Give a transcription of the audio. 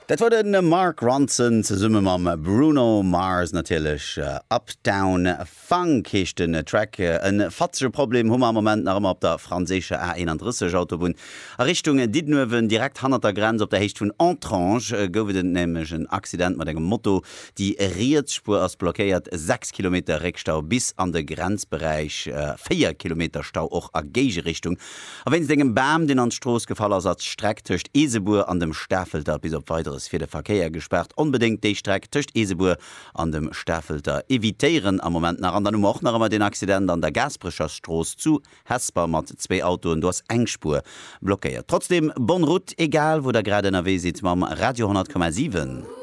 Dat war de Mark Ronson zesumme mam Bruno Mars natierlech. Uptown Funk heescht den Track. E fatzege Problem hu mer am Moment nach ëmmer op der franséischer A31 Autobunn a Richtung Diddenuewen. Direkt hannert der Grenz op der Héicht vun Entrange gouf et nämlech en Accident mat engem Moto. Déi riets Spuer ass blockéiert, 6 Kilometer Réckstau bis an de Grenzberäich, 4 Kilometer Stau och a Géigerichtung. A wéinst engem Bam, deen an d'Strooss gefall ass, ass d'Streck tëscht Eesebuer an dem Stafelter bis op Weideres fir de Verkéier gespaart. Onbedéngt déi Streck tëscht Eesebuer an dem Stafelter evitéieren am Moment nach. An dann hu mer och nach ëmmer deen Accident an der Gaasperecher Strooss zu Hesper mat zwéi Autoen. Do ass eng Spuer blockéiert. Trotzdeem bonne route, egal wou der grad ënnerwee sidd mam Radio 100,7.